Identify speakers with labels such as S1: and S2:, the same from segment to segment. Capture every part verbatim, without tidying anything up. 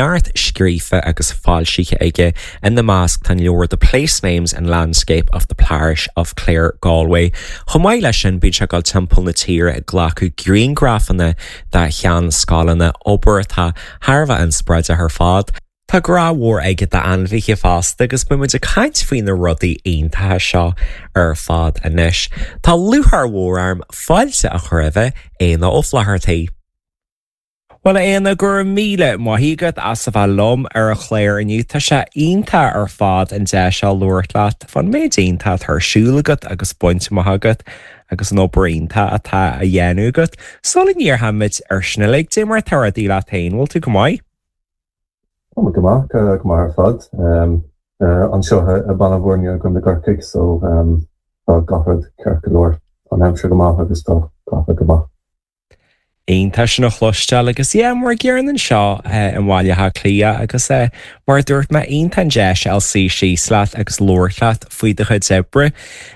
S1: Neart scríofa agus foilsithe aige ina measc tá leabhar The Place Names and Landscape of the Parish of Claregalway. Chomh maith leis sin bíonn sé ag dul timpeall na tíre ag glacadh grianghrafanna de sheanscoileanna obair atá thar a bheith inspioráideach ar fad. Tá grá mhór aige d'ainmhithe fosta agus beimid ag caint faoi na rudaí iontacha seo ar fad anois. Tá lúcháir mhór orm fáilte a chur roimh Éanna Ó Flathartaigh. Well Éanna go raibh míle maith agat as a bheith liom ar an chlár inniu tá sé iontach ar fad an deis seo labhairt leat faoin méid iontach atá ar siúl agat agus bainte amach agat agus an obair iontach atá á dhéanamh agat. Sula ndéarfaimid ar sin uilig cad é mar atá rudaí leat féin bhfuil tú go maith?
S2: Tá go maith go maith ar fad anseo i Baile Bhuirne go na Corcaigh so tá gach rud ceart go leor an aimsir go maith agus tá gach rud go maith.
S1: Iontach sin a chloisteáil agus é mar gceann anseo i mBaile Átha Cliath agus é mar dúirt mé iontach an deis suí síos leat agus labhairt leat faoi do chuid oibre.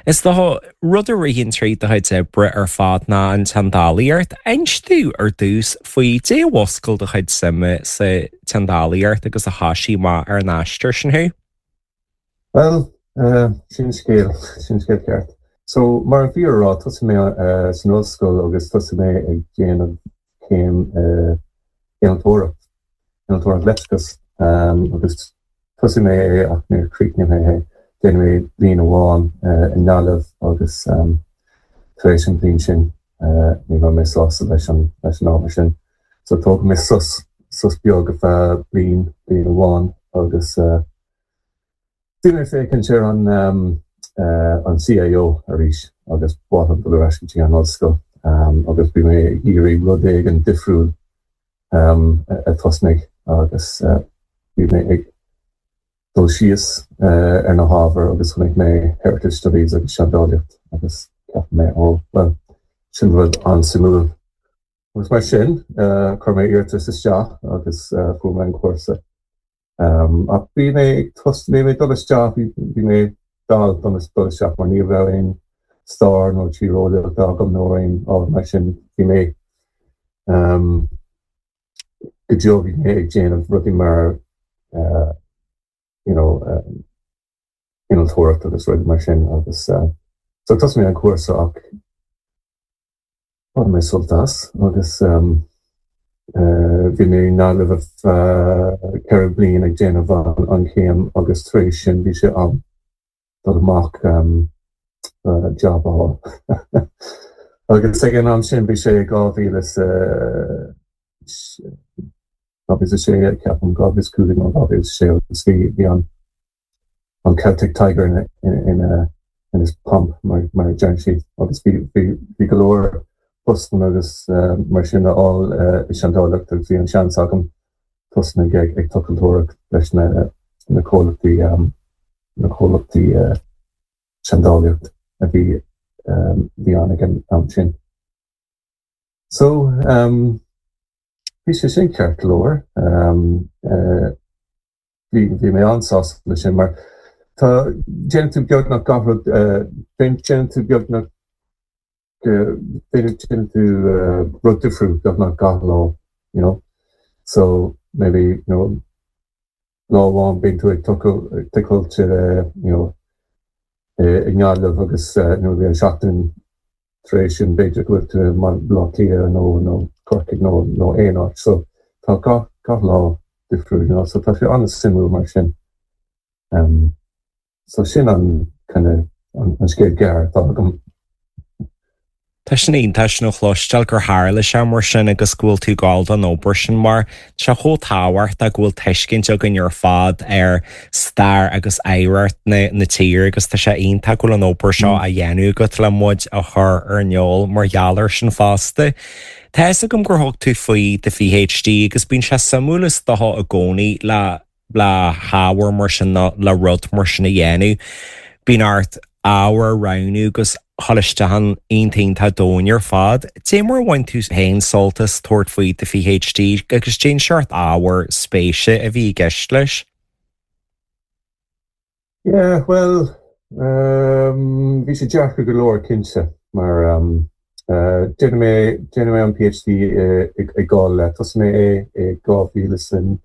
S1: Is dócha rud a ritheann trí do chuid oibre ar fad ná an tseandálaíocht. Inis dom ar dtús faoi cad é a mhúscail do chuid suime sa tseandálaíocht agus a thosaigh amach ar an aistear sin thú.
S2: Well uh, sin scéal sin scéal ceart. So mar a bhí á rá thosaigh mé uh, san ollscoil agus thosaigh mé ag déanamh céim uh, innealtóireacht innealtóireacht leictreachas um, agus thosaigh mé é ach níor chríochnaigh mé é déanamh mé bliain amháin uh, i nGaillimh agus um, tar éis an bhliain sin uh, ní raibh mé sásta leis an leis an ábhar sin. So thóg mé sos sos beag ar feadh bliain bliain amháin agus uh, Bhí mé féachaint ar an um, uh, an CAO arís agus ba mhaith dul ar ais go an ollscoil um, agus bhí mé iarraidh rud éigin difriúil um, a thosnigh agus uh, bhí mé ag dul síos uh, ar na hábhair agus chonaic mé heritage studies agus seandálaíocht agus cheap mé ó well sin rud an-suimiúil. Agus mar sin uh, chuir mé iarratas isteach agus uh, fuair mé an cúrsa. Um, ach bhí mé bhí mé dul isteach bhí mé dal dul isteach mar ní raibh aon stair nó tíreolaíocht agam nó aon ábhar mar sin bhí mé um, go deo bhí mé ag déanamh rudaí mar uh, you know, um, innealtóireacht agus rudaí mar sin agus uh, so thosaigh mé an cúrsa ach bhain mé sult as agus um, uh, bhí mé i nGaillimh uh, ceithre bliana ag déanamh an, an chéim agus tar éis sin bhí sé am dul amach um, uh, job á. agus ag an am sin bhí sé dhá mhíle is sé ceapaim dhá mhíle cúig nó dhá mhíle sé agus bhí bhí an an Celtic Tiger in in in in his pomp mar mar deir siad agus bhí bhí go leor postanna agus uh, mar sin a fháil uh, i seandálaíocht agus bhí an seans agam tosnú ag ag tochailteoireacht leis na na comhlachtaí um, na comhlachtaí uh, seandálaíocht a bhí um, bhí ann ag an am sin. So um, bhí sé sin ceart go leor um, uh, bhí mé an-sásta le sin mar tá déanann tú beagnach gach rud déanann tú beagnach déanann tú rud difriúil beagnach gach lá you know so maybe you know lá amháin bíonn tú ag tochailt you know i nGaillimh agus nó bhí an seachtain tar éis sin b'fhéidir go bhfuil tú Baile Átha Cliath nó nó Corcaigh nó nó aon áit so tá gach gach lá difriúil you know so tá sé an-suimiúil mar sin um, so sin an kind of an, an scéal gearr atá agam.
S1: Tá sin iontach sin a chloisteáil gur tharla sé mar sin agus go bhfuil tú ag gabháil don obair sin mar sé chomh tábhachtach go bhfuil tuiscint againn ar fad ar stair agus oidhreacht na, na tíre agus tá sé iontach go bhfuil an obair seo á dhéanamh agat le muid a chur ar an eolas mar gheall air sin fosta. Tá agam gur thug tú faoi do PhD agus bíonn sé suimiúil is dócha i gcónaí le le hábhar mar sin le rud mar sin a dhéanamh. Bíonn ort ábhar a roghnú agus dul isteach iontach domhain ar fad. Cad é mar a bhain tú féin sult as tabhairt faoi do PhD agus cén seort ábhar spéise a bhí i gceist leis.
S2: Yeah, well, um, bhí sé deacair go leor cinnte mar um, uh, déanfaidh mé déanfaidh mé an PhD ag gáil le thosaigh mé é i dhá mhíle san